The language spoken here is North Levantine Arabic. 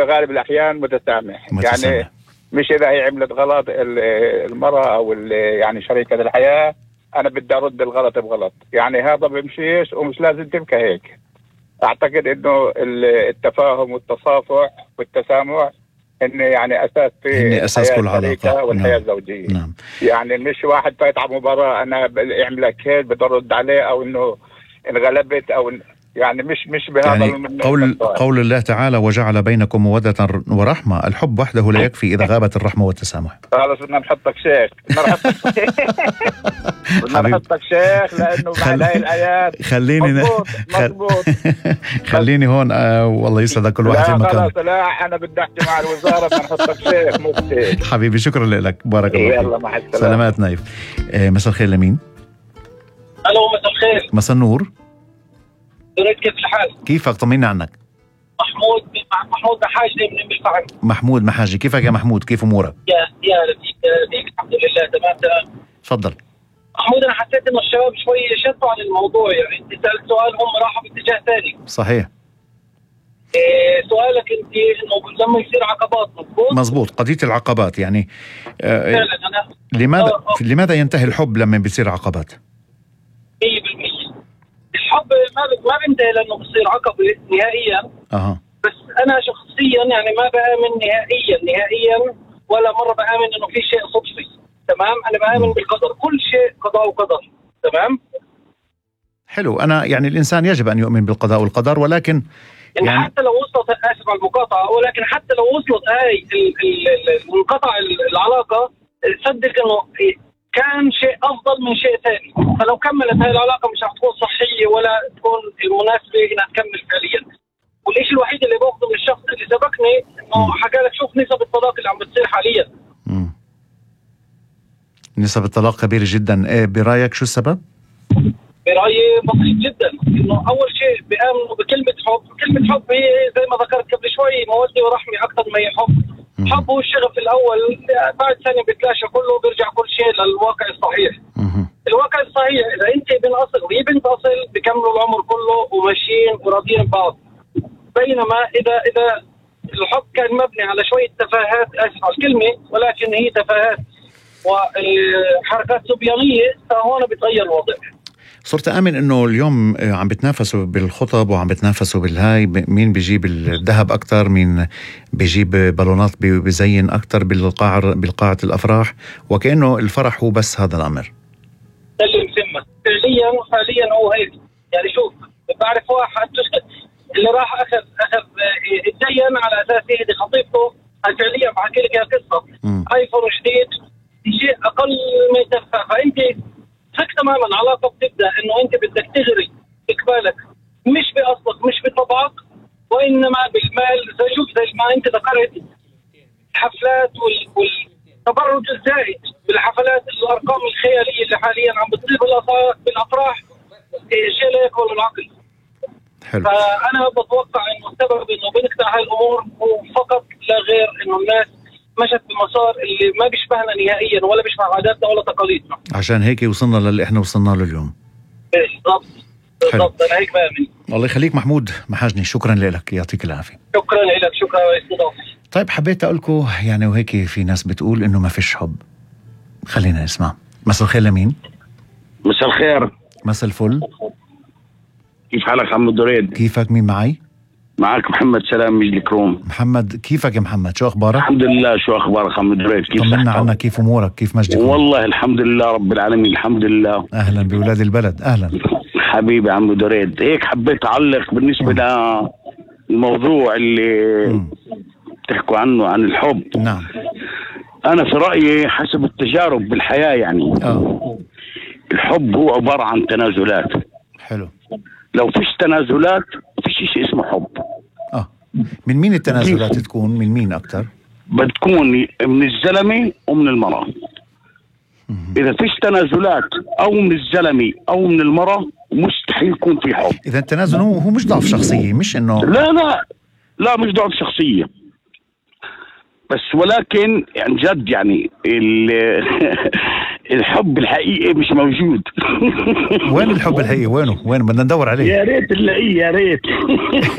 غالب الأحيان متسامح. يعني مش إذا هي عملت غلط المرأة أو يعني شريكة الحياة أنا بدي أرد الغلط بغلط، يعني هذا بمشيش ومش لازم تبقى هيك. أعتقد إنه التفاهم والتصافح والتسامح إن يعني أساس في أساس كل علاقة والحياة الزوجية. نعم. يعني مش واحد فايت على مباراة أنا أعملك هيك بدي أرد عليه، أو إنه انغلبت أو يعني مش بهذا يعني قول الله تعالى وجعل بينكم مودة ورحمة. الحب وحده لا يكفي إذا غابت الرحمة والتسامح. خلاص بدنا نحطك شيخ، بدنا نحطك شيخ لأنه بعد هاي الآيات مضبوط. خليني هون والله يسعدك كل واحد في مكان. خلاص لا أنا بدي أحكي مع الوزارة بدنا نحطك شيخ مفتي. حبيبي شكرا لك، بارك الله فيك. يلا مع السلامة. سلامات نايف. مساء الخير لمين؟ ألو مساء الخير. مساء النور. كيف الحال؟ كيفك؟ طمني عنك. محمود محاجي من بالفعل. محمود محاجي، كيفك يا محمود؟ كيف امورك؟ يا لطيف الحمد لله تمام. تفضل. محمود انا حسيت انه الشباب شوي شطوا عن الموضوع، يعني انت سألت سؤال هم راحوا باتجاه ثاني. صحيح. سؤالك انت انه لما يصير عقبات مزبوط. قضية العقبات يعني فعلا انا لماذا ينتهي الحب لما بيصير عقبات؟ 100% الحب ما بينتهي لانه بصير عقبة نهائيا. بس انا شخصيا يعني ما بآمن نهائيا ولا مرة بآمن انه في شيء صدفي. تمام. انا بآمن بالقدر، كل شيء قضاء وقدر. تمام. حلو. انا يعني الانسان يجب ان يؤمن بالقضاء والقدر، ولكن يعني حتى لو وصلت، اسف على المقاطعة، ولكن حتى لو وصلت هاي انقطع العلاقة، صدق انه كان شيء افضل من شيء ثاني. فلو كملت هاي العلاقة مش رح تكون صحية ولا تكون المناسبة انها تكمل فعليا. والشيء الوحيد اللي باخذه من الشخص اللي سبقني انه حكى لك شوف نسب الطلاق اللي عم بتصير حاليا. نسب الطلاق كبيرة جدا. برايك شو السبب؟ برأيي بسيط جدا، انه اول شيء بيآمنوا بكلمة حب. كلمة حب هي زي ما ذكرت قبل شوي مودة ورحمة اكثر ما هي حب. حب هو الشغف الاول، بعد ثانية بيتلاشى كله وبيرجع كل شيء للواقع الصحيح. الواقع الصحيح اذا انت ابن اصل وهي بنت اصل بكملوا العمر كله وماشيين وراضيين ببعض. بينما اذا الحب كان مبني على شوية تفاهات، اسف على الكلمة، ولكن هي تفاهات وحركات صبيانية، فهون بيتغير الوضع. صرت آمن إنه اليوم عم بتنافسوا بالخطب وعم بتنافسوا بالهاي، مين بيجيب الذهب أكتر، مين بيجيب بالونات بيزين أكتر بالقاعة الأفراح، وكأنه الفرح هو بس هذا الأمر. اللي مسمى حاليا هو هيك. يعني شوف، بعرف واحد اللي راح أخذ اتدين على أساس يهدي خطيبته. فعليا بحكي لك يا قصة ايفون جديد شيء أقل من تفاهة. فأنت فك تماما علاقة بتبدأ انه انت بدك تغري اقبالك مش باصلك مش بطبعك، وانما بالمال. زي ما انت ذكرت الحفلات والتبرج الزائد بالحفلات، الارقام الخيالية اللي حاليا عم بتصير بالافراح شيء لا يقبل العقل. حلو. فانا بتوقع انه السبب انه بنقطع هاي الامور هو فقط لا غير انه الناس مشت بمسار اللي ما بيشبهنا نهائيا ولا بيشبه عاداتنا ولا تقاليدنا. عشان هيك وصلنا للي احنا وصلنا له اليوم. بالضبط. انا هيك بامن. الله يخليك محمود محاجني، شكرا لك، يعطيك العافيه. شكرا لك، شكرا لاستضافتي. طيب حبيت اقول لكم يعني وهيك في ناس بتقول انه ما فيش حب. خلينا نسمع. مساء الخير لمين؟ مساء الخير. مساء الفل. كيف حالك عم دريد؟ كيفك؟ مين معي؟ معك محمد سلام مجد الكروم. محمد كيفك يا محمد؟ شو اخبارك؟ الحمد لله. شو اخبارك عم دريد؟ كيف طمنا عنك، كيف امورك؟ كيف مجد الكروم؟ والله الحمد لله رب العالمين الحمد لله. اهلا بولاد البلد. اهلا حبيبي عم دريد. هيك حبيت اعلق بالنسبه للموضوع اللي بتحكوا عنه عن الحب. نعم. انا في رايي حسب التجارب بالحياه يعني الحب هو عباره عن تنازلات. حلو. لو فيش تنازلات فيش شيء اسمه حب. من مين التنازلات تكون؟ من مين اكتر؟ بتكون من الزلمه ومن المراه. اذا فيش تنازلات او من الزلمه او من المراه مستحيل يكون في حب. اذا التنازل هو مش ضعف شخصيه، مش انه لا مش ضعف شخصيه، بس ولكن يعني جد يعني الحب الحقيقي مش موجود. وين الحب الحقيقي؟ وين بدنا ندور عليه؟ يا ريت نلاقيه يا ريت.